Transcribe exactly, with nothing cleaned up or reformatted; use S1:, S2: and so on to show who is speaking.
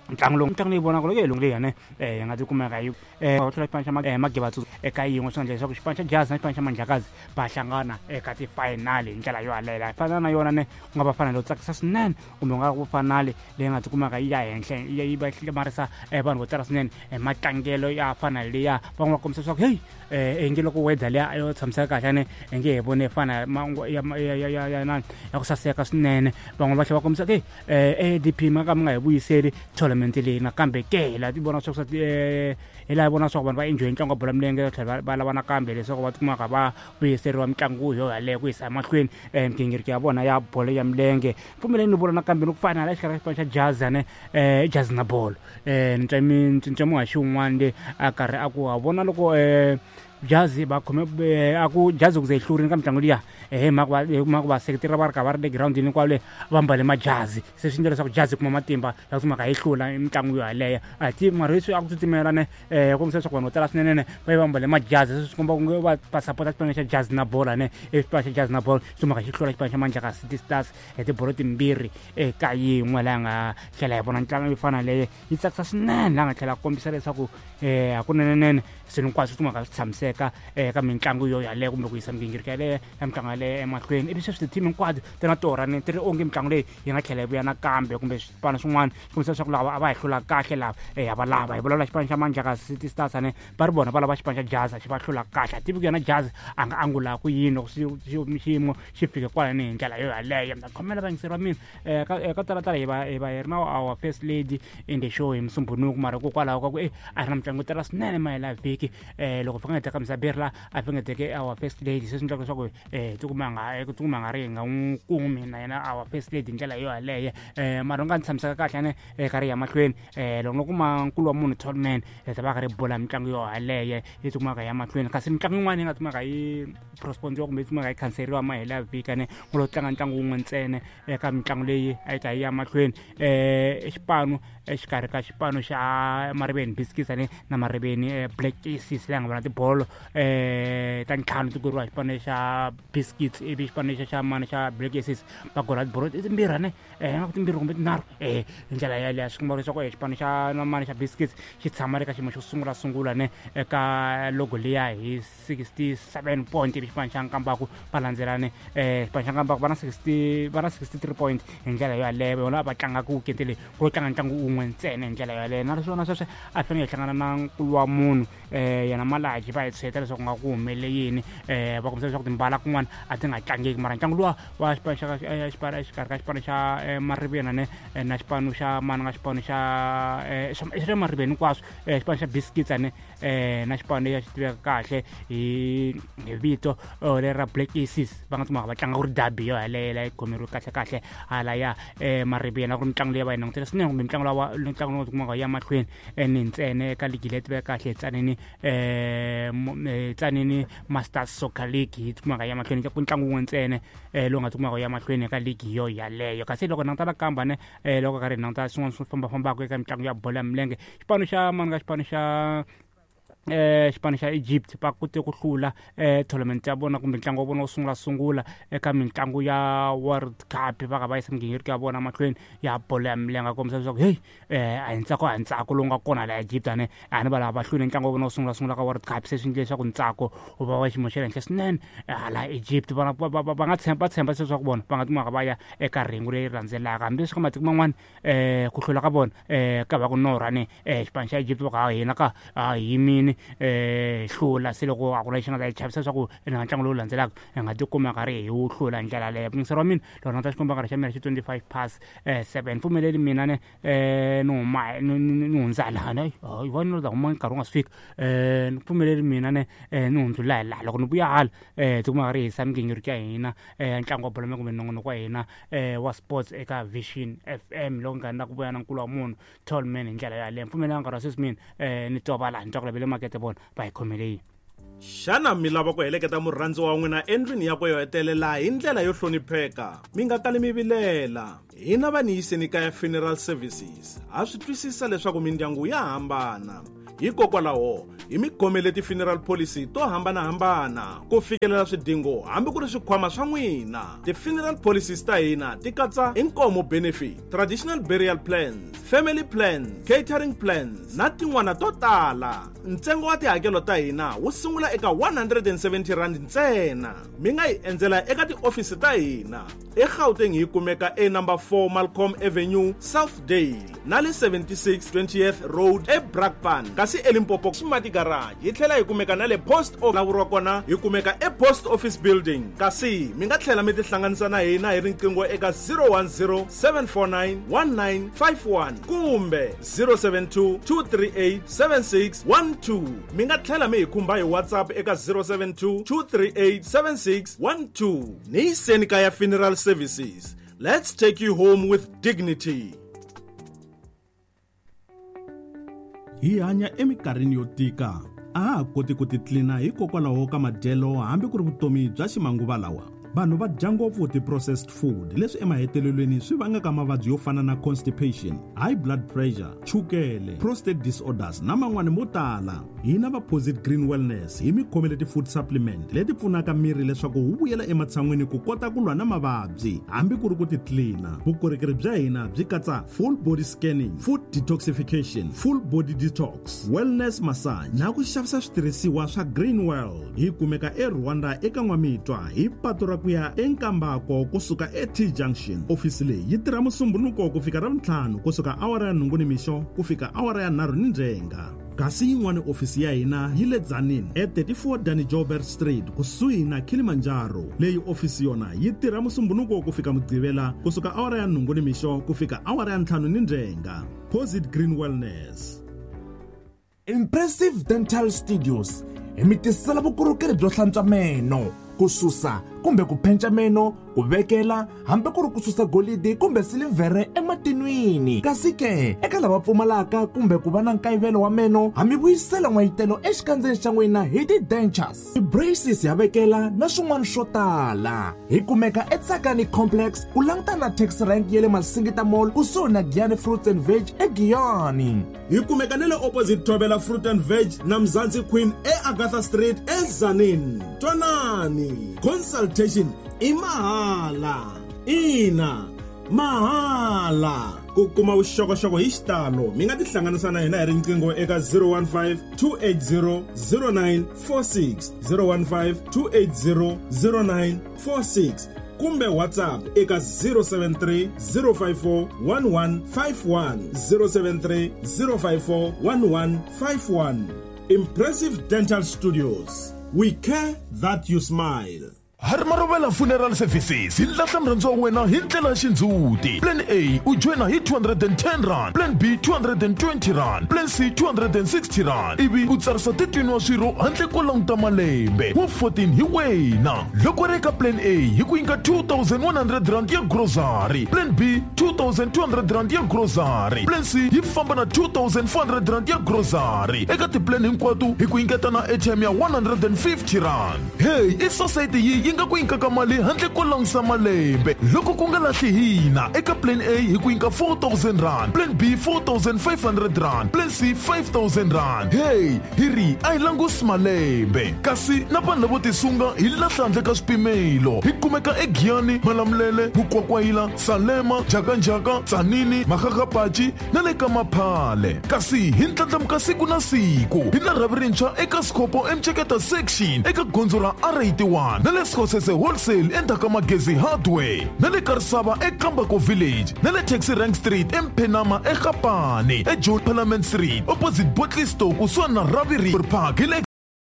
S1: Ntlangu lowu, mitlangu leyi vonaka loko yi leyi ne yi nga tikumeka yi va hlula xipano xa Mageba eka yin'we, swi endla leswaku xipano xa Jazz na xipano xa Mandlakazi va hlangana eka ti-final hi ndlela yo yaleyo. Fana na yona ne ku nga va fanele yo tsakisa swinene, kumbe ku nga ku fanale leyi nga tikumaka yi ya henhla, yi va hlamarisa vanhu vo tala swinene hi matlangelo ya fana leya. Van'wana va kombisa leswaku heyi, i nge loko weather liya yo tshamiseka kahle ne i nge hi vone fana ya ya ya ya ya ya ku saseka swinene. Van'wana va tlhela va kombisa ku A D P ma ka mi nga hi vuyiseli tournament leyi nakambe ke hi laha ti vona swa ku hi laha vona swa ku vanhu va enjoy ntlangu wa bolo ya milenge, tlhela va lava nakambe leswaku va tikumaka va vuyiseriwa mitlangu yo yaleyo ku yisa emahlweni migingiriko ya vona ya bolo ya milenge. Pfumeleni ni vula nakambe ni ku fana la exikarhi ka xipano xa Jazz ne Jazz na bolo, ni twa ni twa muhaxi wun'wana le a karhi a ku ha vona loko Jazz va khome a ku Jazz ku ze yi hlurile ka mitlangu liya hi mhaka va hi mhaka vaseketeri va ri karhi va ri le girawundini kwale va mbale majazi, se swi endla leswaku Jazz yi kuma matimba ya ku timhaka yi hlula mitlangu yo yaleyo. A hi tivi mara leswi a ku titimela ne kombisa leswaku vanhu vo tala swinene ne va yi va mbale majazi, se swi komba ku nge va va sapota xipano xa Jazz na bola ne i xipano xa Jazz na bolo swi mhaka xi hlula xipano xa Mandlaka City Stars hi tibolo timbirhi eka yin'we. Laha nga tlhela hi vona ntlangu yo fana leyo yi tsakisa swinene, laha nga tlhela kombisa leswaku hakunenenene swilo hinkwaswo swi timhaka swi tshamiseka eka mitlangu yo yaleyo kumbe ku yisa migingiriko yaleyo ya mitlangu yaleyo emahlweni. Ivi sweswi ti-team hinkwato ti na torha ni ti ri onge mitlangu leyi yi nga tlhela yi vuya nakambe, kumbe swipano swin'wana swi kombisa leswaku lava a va hi hlula kahle lava ha va lava. Hi vulavula xipano xa Mandlaka City Stars ne va ri vona va lava xipano xa Jazz xi va hlula kahle. A tivi ku yena Jazz a nga angula ku yini loko xiyimo xi fike kwalani hi ndlela yo yaleyo. Mi ta khomela vayingiseri va mina ka talatala hi va hi va hi ri na our first lady in the show hi Musumbunuku, mara hikokwalaho ka ku e a ri na mitlangu yo tala swinene mahela vhiki loko hi fanele hi teka Misaberi la a fanele hi teke our first lady, se swi endlaka leswaku tikuma nga tikuma nga ri hi nga n'wi kumi na yena our first lady hi ndlela yo yaleyo. Mara u nga ni tshamiseka kahle ne karhi ya mahlweni loko no kuma nkulu wa munhu Tallman hi ta va karhi hi bula mitlangu yo yaleyo yi tikumaka ya mahlweni. Kasi mitlangu yin'wana yi nga tikumaka yi postpone-iwa kumbe yi tikumaka yi khanseriwa mahela ya vhiki ne ku lo tlanga ntlangu wun'we ntsena eka mitlangu leyi a yi ta yi ya mahlweni, xipano exikarhi ka xipano xa Mariveni Biscuits ne na Mariveni Black Aces leyi nga vona tibolo ta ntlhanu ti goriwa hi xipano xa Biscuits, ivi xipano xa xa mani xa Black Aces va gola tibolo timbirhi ne nga ku timbirhi kumbe tinharhu hi ndlela yaleyo. Swi komba leswaku xipano xa mani xa Biscuits xi tshama eka xiyimo xo sungula sungula ne eka logo liya hi sixty-seven point, ivi xipano xa Nkambaku va landzelane xipano xa Nkambaku va na sixty va na sixty-three point hi ndlela yaleyo. Vona va tlangaka weekend leyi ku lo tlanga ntlangu wun'we ntsena hi ndlela yaleyo. Na swona sweswo a fanele hi hlangana na nkulu wa munhu yena Malaji va hi tsheta leswaku nga ku humelele yini, va kombisa leswaku timbala kun'wana a ti nga tlangeki, mara ntlangu luwa wa xipano xa xipano exikarhi ka xipano xa Mariveni ne na xipano xa mani nga xipano xa xa Mariveni hinkwaswo xipano xa Biscuits ne na xipano lexi xi tiveka kahle hi hi vito leri ra Black Aces va nga tshama va tlanga ku ri derby yo yaleyo leyi khomeriwe kahle kahle hala ya Mariveni a ku ri mitlangu leyi va yi langutele swinene, kumbe mitlangu lawa mitlangu lowu tikumaka ya mahlweni ni ntsena eka ligi leyi tiveka kahle hi Tzaneen Tzaneen Masters Soccer League yi tikumaka ya mahlweni ku ntlangu wun'we ntsena lowu nga tikumaka ya mahlweni eka ligi yo yaleyo. Kasi loko languta nakambe ne loko karhi hi languta swin'wana swi fambafambaka eka mitlangu ya bolo ya milenge, xipano xa mani ka xipano xa xipano xa Egypt va kote ku hlula tournament ya vona kumbe ntlangu wa vona wo sungula sungula eka mitlangu ya World Cup, va ka va yisa migingiriko ya vona mahlweni ya bolo ya milenge, kombisa leswaku heyi a hi ntsako a hi ntsako lowu nga kona la Egypt ane a ni va lava va hlule ntlangu wa vona wo sungula sungula ka World Cup, se swi endle leswaku ntsako wu va wa xiyimo xa le henhla swinene hala Egypt. Va va va nga tshemba tshemba leswaku vona va nga timaka va ya eka rhengu leri landzelaka, hambileswi ka matiko man'wana ku hlula ka vona ka va ku norha ne xipano xa Egypt va ku ha hina ka a hi yimini hlula, se loko a ku na lexi nga ta hi chavisa leswaku ina ntlangu lowu landzelaka hi nga tikuma karhi hi wu hlula hi ndlela leyo. Muyingiseri wa mina loko na ta xikomba nkarhi xa mina xi twenty-five past seven, pfumeleli mina ne ni huma ni hundza lana hi vona ta huma nkarhi wu nga si fika, ni pfumeleli mina ne ni hundzula hi laha loko ni vuya hala tikuma karhi hi yisa migingiriko ya hina ntlangu wa bolo kumbe nongonoko wa hina wa sports eka Vision F M loko nkarhi na ku vuya na nkulu wa munhu Tallman hi ndlela yaleyo. Pfumeleli nkarhi wa sweswi mina ni twa va laha ni twa ku lavele makete vona va hi khomele yini.
S2: Xana mi lava ku heleketa murhandzi wa n'wina endlwini yakwe yo hetelela hi ndlela yo hlonipheka? Mi nga kali mi vilela. Hina va ni yiseni kaya Funeral Services ha swi twisisa leswaku mindyangu ya hambana. Hikokwalaho hi mi khomele ti-funeral policy to hambanahambana ku fikelela swidingo hambi ku ri swikhwama swa n'wina. Ti-funeral policies ta hina ti katsa inkomo benefit, traditional burial plans, family plans, catering plans na tin'wana to tala. Ntsengo wa tihakelo ta hina wu sungula eka one hundred and seventy rand ntsena. Mi nga hi endzela eka tiofisi ta hina eGauteng hi kumeka e number four Malcolm Avenue, Southdale, na le seventy-six twentieth Road eBrakpan. Kasi eLimpopo Smart Garage hi tlhela hi kumeka na le Post Office lavuriwa kona hi kumeka e Post Office Building. Kasi mi nga tlhela mi tihlanganisa na hina hi riqingho eka zero one zero seven four nine one nine five one kumbe zero seven two two three eight seven six one two. Mi nga tlhela mi hi khumba hi WhatsApp eka zero seven two two three eight seven six one two. Ni Kaya Funeral Services. Let's take you home with dignity. Hi hanya eminkarhini yo tika. A ha koti ku titlina hikokwalaho ka madyelo hambi ku ri vutomi bya ximanguva lawa. Vanhu va dya ngopfu ti-processed food leswi emahetelelweni swi vangaka mavabyi yo fana na constipation, high blood pressure, chukele, prostate disorders na man'wani mo tala. Hina va Posit Green Wellness hi mi khomele ti-food supplement leti pfunaka miri leswaku wu vuyela ematshan'wini ku kota ku lwa na mavabyi hambi ku ri ku titlina. Vukorhokeri bya hina byi katsa full body scanning, food detoxification, full body detox, wellness massage na ku xavisa switirhisiwa swa Green World. Hi kumeka eRwanda eka N'wamitwa hi patu ra ku ya eNkambako kusuka e-T Junction. Ofisi leyi yi tirha Musumbhunuko ku fika Ravuntlhanu kusuka awara ya nhungu nimixo ku fika awara ya nharhu ni ndzhenga. Kasi yin'wana ofisi ya hina yi le Tzaneen e thirty-four Danny Joubert Street kusuhi na Kilimanjaro. Leyi ofisi yona yi tirha Musumbhunuko ku fika Mugqivela kusuka awara ya nhungu nimixo ku fika awara ya ntlhanu ni ndzhenga. Posit Green Wellness.
S3: Impressive Dental Studios hi mi tisela vukorhokeri byo hlantswa meno, ku susa kumbe ku penca meno, ku vekela hambi ku ri ku susa golidi kumbe silivhere ematinwini. Kasi ke eka lava pfumalaka kumbe ku va na nkayivelo wa meno, ha mi vuyisela n'wayitelo exikandzeni xa n'wina hi ti-dentures, ti-braces ya vekela na swin'wana swo tala. Hi kumeka eTsakani Complex ku languta na taxi rank ya le Masingita Mall kusuhi na Giyani Fruits and Veg eGiyani.
S2: Hi kumeka na le opposite Thobela Fruit and Veg na Mzansi Queen eAgatha Street eTzaneen. Twanani, consultation i mahala. Ina, mahala. Ku kuma vuxokoxoko hi xitalo mi nga tihlanganisa na hina hi riqingho eka zero one five two eight zero zero nine four six, zero one five two eight zero zero nine four six kumbe WhatsApp eka zero seven three zero five four one one five one, zero seven three zero five four one one five one. Impressive Dental Studios. We care that you smile.
S4: Harmarovela Funeral Services hi lahla murhandziwa wa wena hi ndlela ya xindzhuti. Plan A u joyina hi two hundred and ten rand, Plan B two hundred and twenty rand, Plan C two hundred and sixty rand. Ivi u tsarisa thirteen wa swirho handle ko languta malembe wa fourteen hi wena. Loko ri eka Plan A hi ku nyika two thousand one hundred rand ya grocery, Plan B two thousand two hundred rand ya grocery, Plan C yi famba na two thousand four hundred rand ya grocery. Eka tiplan hinkwato hi ku nyiketa na airtime ya one hundred and fifty rand. Hey, i society yi yi nga ku nyikaka mali handle ko langusa malembe. Loko ku nga lahli hina eka Plan A hi ku nyika four thousand rand, Plan B four thousand five hundred rand, Plan C five thousand rand. Hey, hi ri a hi langusi malembe. Kasi na vanhu lavo tisunga hi lahla handle ka swipimelo. Hi kumeka eGiyani, Malamulele, Mukwakwayila, Salema, Jakanjaka, Tzaneen, Makgakgapachi na le ka Maphale. Kasi hi ndlandlamuka siku na siku. Hi na rhavi rintshwa eka Sikopo eMceketa section eka gondzo ra R eighty-one na le Skhosese Wholesale endzhaku ka Magezi Hardware na le Karisava eKambako Village na le Taxi Rank Street eMphenama eGapane eJohn Parliament Street opposite Botley Store kusuhani na Ravi Park hi le